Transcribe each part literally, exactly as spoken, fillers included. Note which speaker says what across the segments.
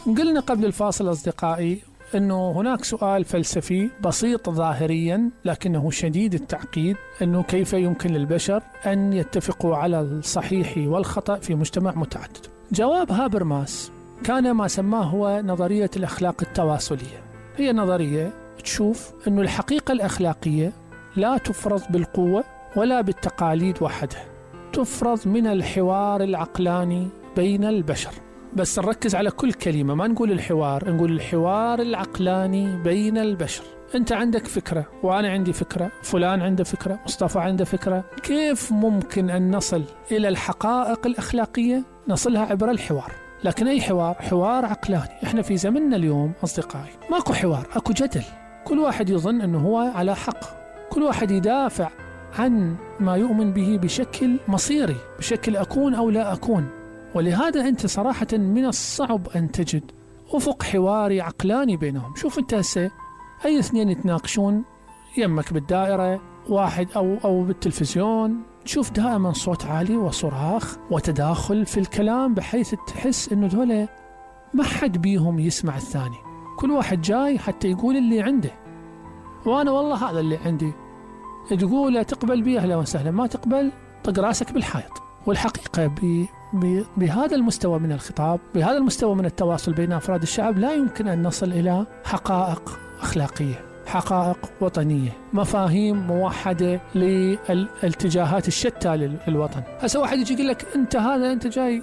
Speaker 1: قلنا قبل الفاصل أصدقائي أنه هناك سؤال فلسفي بسيط ظاهريا لكنه شديد التعقيد، أنه كيف يمكن للبشر أن يتفقوا على الصحيح والخطأ في مجتمع متعدد. جواب هابرماس كان ما سماه هو نظرية الأخلاق التواصلية. هي نظرية تشوف أنه الحقيقة الأخلاقية لا تفرض بالقوة ولا بالتقاليد وحدها، تفرض من الحوار العقلاني بين البشر. بس نركز على كل كلمة، ما نقول الحوار، نقول الحوار العقلاني بين البشر. أنت عندك فكرة وأنا عندي فكرة، فلان عنده فكرة، مصطفى عنده فكرة. كيف ممكن أن نصل إلى الحقائق الأخلاقية؟ نصلها عبر الحوار. لكن أي حوار؟ حوار عقلاني. إحنا في زمننا اليوم أصدقائي ماكو حوار، أكو جدل. كل واحد يظن أنه هو على حق، كل واحد يدافع عن ما يؤمن به بشكل مصيري، بشكل أكون أو لا أكون. ولهذا أنت صراحة من الصعب أن تجد أفق حواري عقلاني بينهم. شوف أنت هسه أي اثنين يتناقشون يمك بالدائرة واحد أو أو بالتلفزيون، تشوف دائما صوت عالي وصراخ وتداخل في الكلام بحيث تحس إنه دولة ما حد بيهم يسمع الثاني، كل واحد جاي حتى يقول اللي عنده، وأنا والله هذا اللي عندي. تقول تقبل بيه أهلا وسهلا، ما تقبل طق راسك بالحائط. والحقيقة ب بهذا المستوى من الخطاب، بهذا المستوى من التواصل بين أفراد الشعب، لا يمكن أن نصل إلى حقائق أخلاقية، حقائق وطنية، مفاهيم موحدة للاتجاهات الشتى للوطن. هسه واحد يجي يقول لك أنت هذا أنت جاي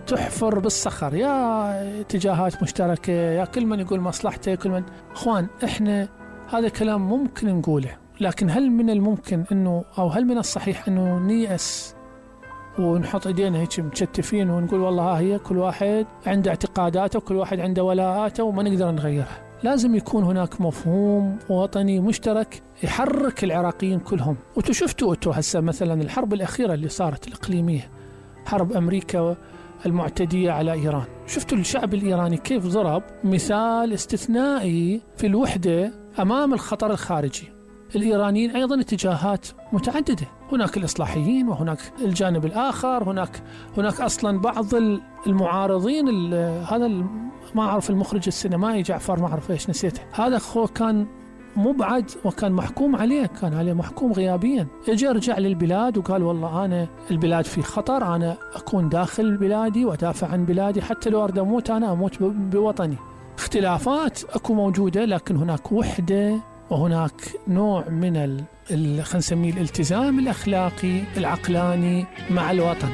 Speaker 1: تحفر بالصخر، يا اتجاهات مشتركة، يا كل من يقول مصلحته، كل من. أخوان إحنا هذا كلام ممكن نقوله، لكن هل من الممكن أنه أو هل من الصحيح أنه نيأس ونحط ايدينا هيك متشتفين ونقول والله ها هي كل واحد عنده اعتقاداته وكل واحد عنده ولاءاته وما نقدر نغيرها؟ لازم يكون هناك مفهوم وطني مشترك يحرك العراقيين كلهم. وانتوا شفتوا انتوا هسه مثلا الحرب الأخيرة اللي صارت الإقليمية، حرب أمريكا المعتدية على إيران، شفتوا الشعب الإيراني كيف ضرب مثال استثنائي في الوحدة أمام الخطر الخارجي. الإيرانيين أيضا اتجاهات متعددة، هناك الإصلاحيين وهناك الجانب الآخر، هناك هناك أصلا بعض المعارضين. هذا ما أعرف المخرج السينمائي جعفر ما أعرف إيش نسيته، هذا هو كان مبعد وكان محكوم عليه، كان عليه محكوم غيابيا. اجى رجع للبلاد وقال والله أنا البلاد في خطر، أنا أكون داخل بلادي وأدافع عن بلادي، حتى لو أريد أموت أنا أموت بوطني. اختلافات أكو موجودة، لكن هناك وحدة وهناك نوع من ال خلينا نسميه الالتزام الأخلاقي العقلاني مع الوطن.